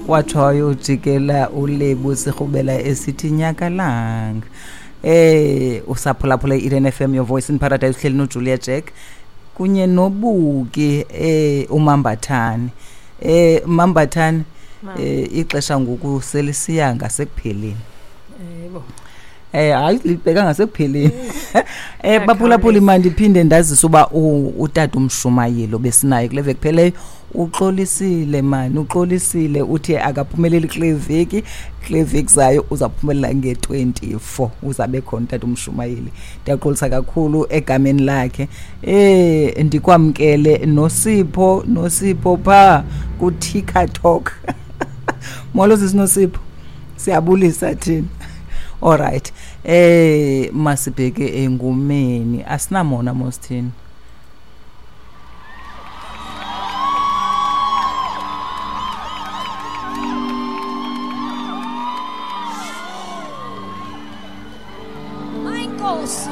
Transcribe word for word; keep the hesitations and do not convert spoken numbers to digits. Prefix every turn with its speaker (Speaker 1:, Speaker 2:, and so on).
Speaker 1: Watsho wayojikela uLebu sirhubela esithi nyakalanga. Eh usaphulaphula i-Eden F M, your voice in paradise, uhleli noJulia Jack kunye noBuki eh uMambathane. Eh Mambathane, eh ixesha ngoku selisiya ngasekupheleni.
Speaker 2: Yebo.
Speaker 1: Eh hayi libheka ngasekupheleni. Eh baphulaphula mandiphinde ndazise uba utata umshumayelo besinaye kule veki pheleyo uxolisile mani, uxolisile uthi akaphumeleli kule veki, kule veki zayo uzaphumelela nge twenty-four uzabe khona utata umshumayeli. Ndiyaxolisa kakhulu egameni lakhe. Eh ndikwamkele noSipho, noSipho pha ku TikTok. Molo sisi Nosipho, siyabulisa thina. All right. Eh masibheke engumeni asinamona mosithini.
Speaker 2: My Nkosi,